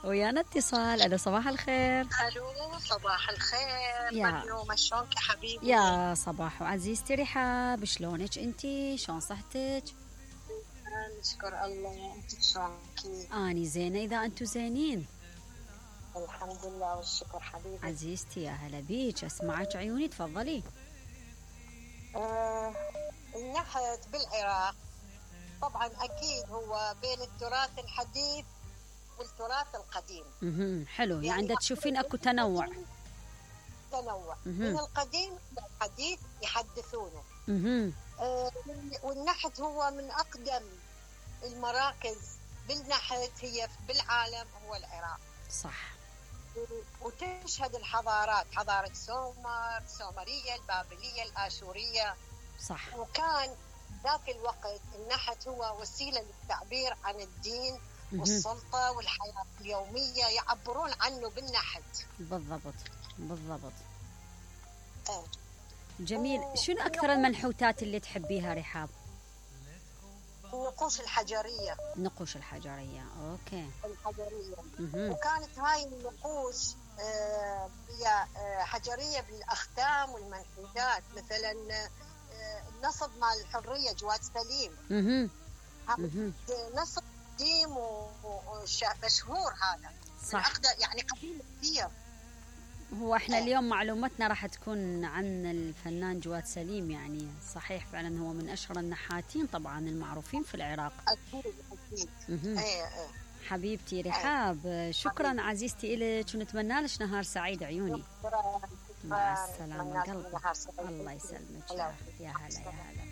ويانا اتصال. الو صباح الخير. الو صباح الخير. مريوم شلونك يا حبيبي؟ يا صباح عزيزتي رحاب، شلونك انتي؟ شلون صحتك؟ نشكر الله. انت شلونك؟ اني زينه اذا انتو زينين. الحمد لله والشكر حبيبي. عزيزتي يا هلا بيك، اسمعك عيوني تفضلي. النحت بالعراق طبعا اكيد هو بين التراث الحديث والتراث القديم. حلو، يعني دا تشوفين اكو تنوع من القديم للحديث يحدثونه. والنحت هو من اقدم المراكز بالنحت هي بالعالم هو العراق. صح. وتشهد الحضارات، حضارة السومرية، البابلية، الآشورية. صح. وكان ذاك الوقت النحت هو وسيلة للتعبير عن الدين والسلطة والحياة اليومية، يعبرون عنه بالنحت. بالضبط. جميل. شنو أكثر المنحوتات اللي تحبيها رحاب؟ النقوش الحجرية. النقوش الحجرية، أوكي. الحجرية. وكانت هاي النقوش هي حجرية بالأختام والمنحوتات، مثلا النصب مال الحرية جواد سليم. نصب قديم ومشهور هذا. صح. يعني قديم كثير. هو احنا اليوم معلومتنا راح تكون عن الفنان جواد سليم، يعني صحيح فعلا هو من اشهر النحاتين طبعا المعروفين في العراق. اكيد. حبيبتي رحاب، شكرا عزيزتي إلك، ونتمنى لك نهار سعيد عيوني. مع السلامة قلبي. الله يسلمك. يا هلا يا هلا.